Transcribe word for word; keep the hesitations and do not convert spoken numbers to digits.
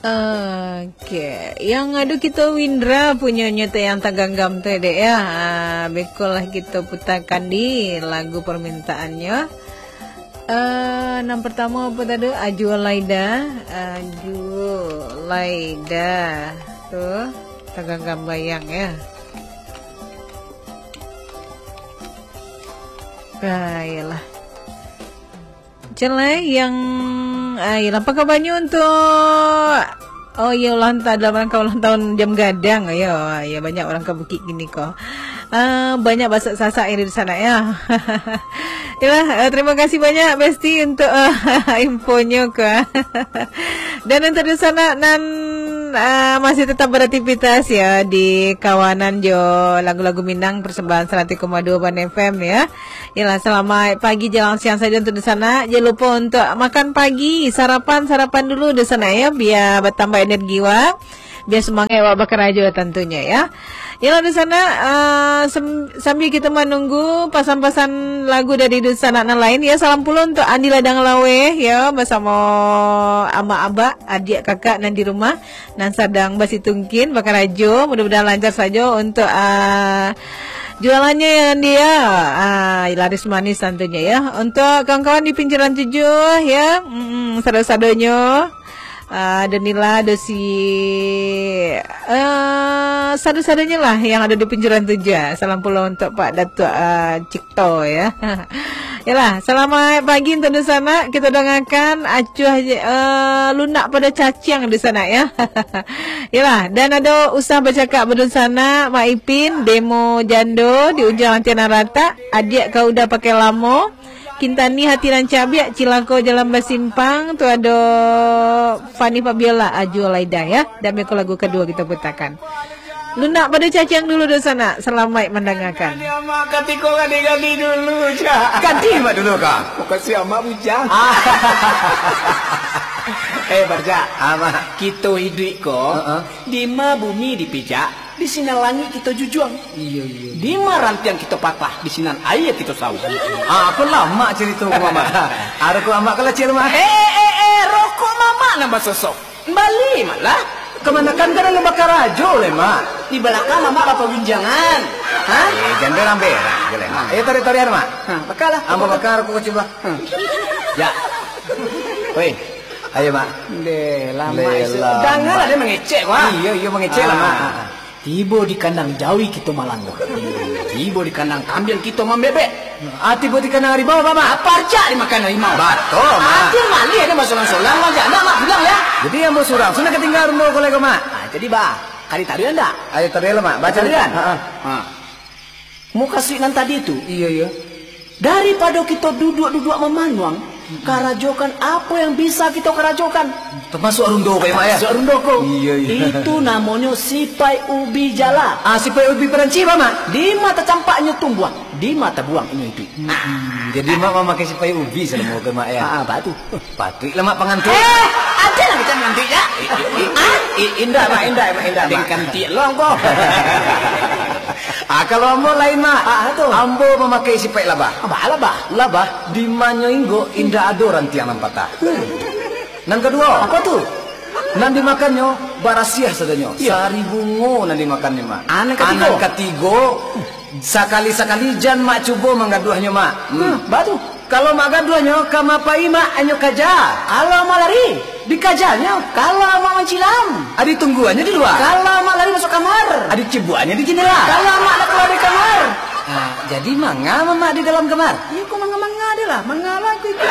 Oke, yang ado kito Windra punyonyo tu yang taganggam tu, dek, ya. Ah, beko lah kito putakan di lagu permintaannyo. Eh, nan pertamo apo tadi? Ajo Laida, Ajo Laida. Tu, taganggam bayang, ya. Ah, iyalah. Macam lai yang, ah, iyalah, apa kabarnyo untuk, oh, iya, ulang ta-, dalam rangka ulang tahun Jam Gadang, ya, ya, banyak urang ka bukik kini ko. Ah, banyak basak-sasak yang di sana, ya. Yalah, eh, terima kasih banyak, Besti, untuk, eh, infonyo ko. Dan untuk di sana nan, eh, masih tetap beraktivitas, ya, di kawanan jo lagu-lagu Minang persembahan seratus koma dua Banda F M, ya. Yalah, selamat pagi, jalang siang sajo untuk di sana. Jangan lupa untuk makan pagi, sarapan, sarapan dulu di sana, ya, bia batambah energi wak, bia semangat wak bakarajo tantunyo, ya. Yalah, di sana, ah, sem-, sambil kita menunggu pasan-pasan lagu dari di sana nan lain, ya, salam pulo untuk Andi Ladang Laweh, ya, basamo amak abak, adiak kakak nan di rumah. Nan sadang basitungkin, bakarajo, mudah-mudahan lancar sajo untuk, ah, jualannyo yang dia, ah, laris manis tantunyo, ya. Untuk kawan-kawan di pinggiran tujuh, ya, mm, sado-sadonyo, ah, Danila, Dosi, ah, sado-sadonyo lah yang ada di pinggiran tujuh. Salam pulo untuk Pak Datuk, ah, Cik to, ya. Yalah, selamat pagi untuk di sana. Kita dengarkan acuah je, eh, lunak pada caciang di sana, ya. Yalah, dan ada usah bercakap berdunsanak, Mak Ipin, Demo Jando, di ujung antian ratak, adiak kau udah pakai lamo, Kintani hati nan cabiak, cilako jalan basimpang, tu ada Fani Fabiola, Ajo Laida, ya. Dan beko lagu kedua kita putakan. Lunak pada caciang dulu di sana. Selamat mendengarkan. Ganti amak katiko gadi-gadi dulu, Cak. Ganti amak dulu, Kak. Makasih amak bujang. Ah. Eh, Barcak. Amak. Kito iduik ko, heeh, di ma bumi dipijak, di sinan langik kito jujuang. Iyo, iyo. Di ma rantiang kito patah, di sinan aia kito sauak. Ah, apo lah, Mak, carito ko, Mak? Ado ko, Amak, kalau cil, Mak. Eh, eh, eh, eh, rokok Mamak nan basosok. Bali malah. Kamanakan kan anu bakarajo leh, Mak? Di balakang Mamak bapabincangan. Ha? Eh, jan berang-berang je leh, Mak. Eh, tarik-tarian, Mak. Ha, bakalah. Ambo bakar, aku cuba. Ha. Ya. Woi, ayo, Mak. Deh, lama. Deh, isu. Lama. Dangarlah dia mangecek, Mak. Iyo, iyo, mangecek lah, Mak. Ah. Tibo di kandang jawi kito malangga. Tibo di kandang kambiang kito mambebek. Ah, tibo di kandang harimau, Mak. Apa arcak dimakan harimau? Batua, Mak. Ati malih ada basolang-solang, Mak. Jangan, Mak, pulang, ya. Jadi, ambo surang. Sudah katinggalan rumah ko lagi, Mak. Ah, jadi, bah, kali tadi ndak? Ayo, tadi lah, Mak. Baca tadi kan? Ha, ha. Ha. Mukasuik nan tadi tu. Iyo, iyo. Daripado kito duduak-duduak mamanuang, karajokan apo yang bisa kito karajokan. Tamasuak rundo ko, ya, Mak, ya? Tamasuak rundo ko. Iyo, iyo. Itu namonyo sipai ubi jala. Ah, sipai ubi Perancis, Mak? Di ma tacampaknyo tumbuah, di ma tabuang inyo iduik. Hmm, jadi Mak mamakai sipai ubi salamo ko, Mak, ya? Ah, ah, batu. Patuik lah, Mak, pangantuik. Eh, ada lah kita ngantuik, ya? I-, i-, i-, ah? I-, indak, Mak, indak, Mak, indak, Mak. Kantuik lo, angko. Ah, kalau ambo lain, Mak. Ah, tu. Ambo mamakai sipai labah. Apa labah? Labah, di ma nyo inggok, indak ado rantiang nan patah. Nan kaduo. Apa tu? Nan dimakannyo barasiah sadonyo. Iya. Sari bungo nan dimakannyo, Mak. Ah, nan katigo. Ah, nan katigo, sakali-sakali jan Mak cubo manggaduahnyo, Mak. Hmm. Hmm, batu. Kalau Mak gaduahnyo, ka ma pai, Mak, anyo kaja. Kalau Mak lari, dikajanyo. Kalau Mak mancilam, ah, ditungguannyo di lua. Kalau Mak lari masuak kamar, ah, dicibuakannyo di jendela. Kalau Mak lah kaluar dari kamar. Ah, jadi manga Mamak di dalam kamar? Iyo, ko manga-manga je lah. Manga lah ko itu.